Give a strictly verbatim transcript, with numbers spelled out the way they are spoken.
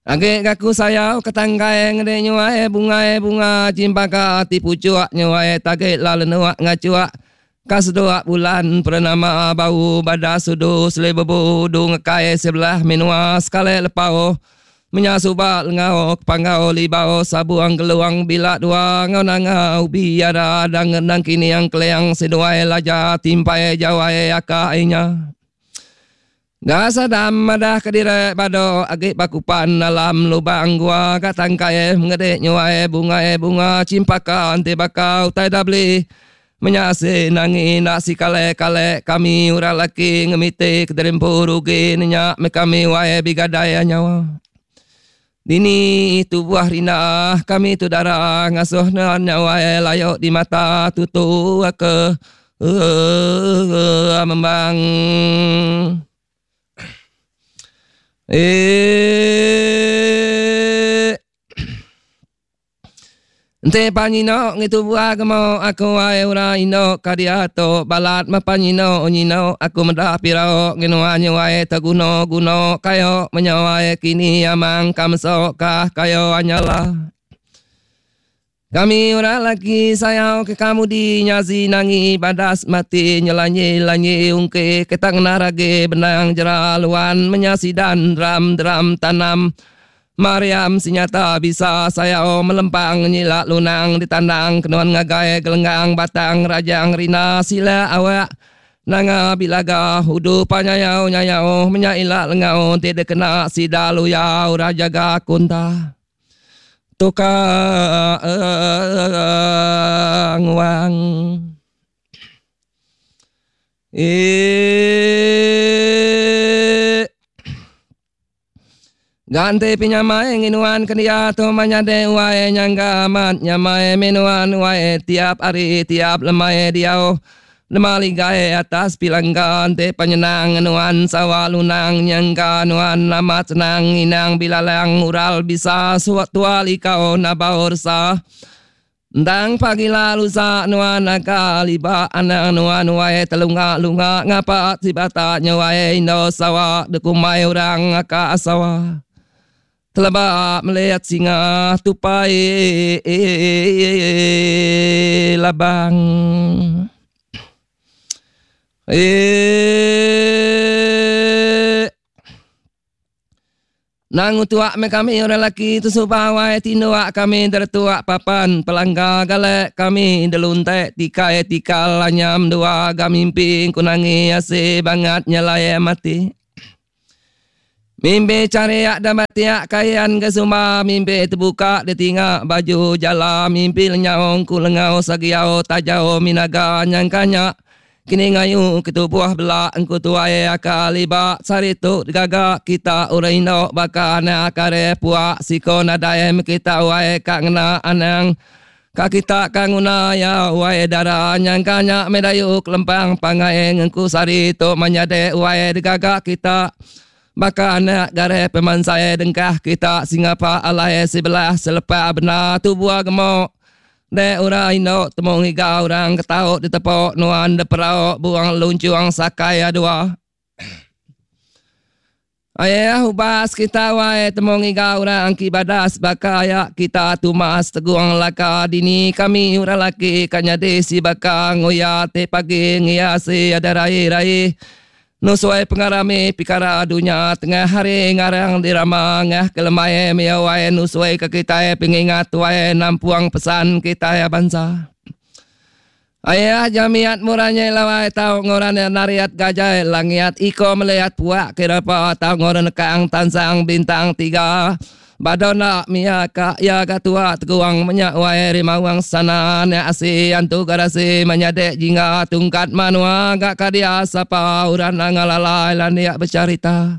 Agi gaku sayau ketanggai ngede nyuai bungai bunga cimpaka ti pucuk nyuai tage lalu nuak ngacuak kasdua bulan purnama bau bada sudu selebebu du ngekai sebelah menua sekali lepau menyasuba lengau panggau libau sabuang geluang bila dua ngau nangau biara dang nang kini yang keleang seduai laja timpai jawai akainya. Gasa dam madah kedire bado agi bakupan alam lubang gua katangkai ngede nyuai bungai bunga cimpaka anti bakau tai dah beli menyase nangi nak si kale kale kami urang laki ngemite kederimpu rugi nenya me kami wae bigadai nyawa. Dini tubuh rina kami tu darah ngasuh nyawa layok di mata tutu ke uh, membang. Eh, Ente panyino ngitu buah gemo aku ai ura ino kadiato balat ma panyino nyino aku mendah pirao nginua nyuai teguno guno kayo menyawai kini amang kamso kah kayo anyala. Kami ura laki sayau ke kamu di nyazi nangi badas mati nyelanyi lanyi ungke ketang narage benang jeraluan menyasidan dram dram tanam. Mariam sinyata bisa sayau melempang nyilak lunang ditandang kenuan ngagai gelenggang batang rajang rina sila awak nanga bilaga hudu panyayau nyayau menyailak lengau tidak kena sidalu yau rajaga kunta tukang wang. Eh, ganti pinyamai nginuan kendia tu manyade wae nyangga amat nyamai minuan wae tiap hari tiap lemai diau lemali gae atas pilanggan te penyenang nuan sawa lunang nyangga nuan amat senang inang bilalang ural bisa suat tuali kau nabaursa Ndang pagi lalu sa nuan akaliba anang nuan wae telunga lunga ngapa sibata nyawae indo sawa dekumai orang aka sawa. Telebak melihat singa tupai labang. Eh, Nangu tuak me kami orang laki tu subawai tinuak kami dertuak papan pelangga galek kami deluntek tikai tikal lanyam dua gamimpi kunangi ase bangat nyelai mati. Mimpi cariak dan batiak kayan ke sumba mimpi terbuka dia tingak baju jala mimpi lenyaung ku lengau sagiau tajau minaga nyangkanya kini ngayu ketubuh belak engku tuai akaliba saritu gagak kita urang indok baka anak kare puak siko nadai kita wae kak ngena anang ka kita kanguna ya wae dara nyangkanya medayu kelempang pangai ngengku saritu manyade wae gagak kita baka anak gare pemansai dengkah kita singapa alai sebelah selepas benar tubuh gemuk de ura indok temung higa orang ketauk ditepok nuan de perau buang luncuang sakai dua. Ayah ubas kita wae temung higa orang ki badas baka ayak kita tumas teguang laka dini kami ura laki kanya desi baka ngoya te pagi ngiasi ada rai rai. Nusuai pengarami pikara dunia tengah hari ngarang dirama ngah kelemai miawai nusuai ke kita pengingat tuai nampuang pesan kita ya bangsa. Ayah jamiat muranya lawai tau ngoran nariat gajah langiat iko melihat puak kirapa tau ngoran kang tansang bintang tiga. Badona mia ka ya katua teguang menyak wae rimawang sana ne asi antu garasi menyadek jingga tungkat manua gak kadia sapa uran ngalalai laniak bercerita.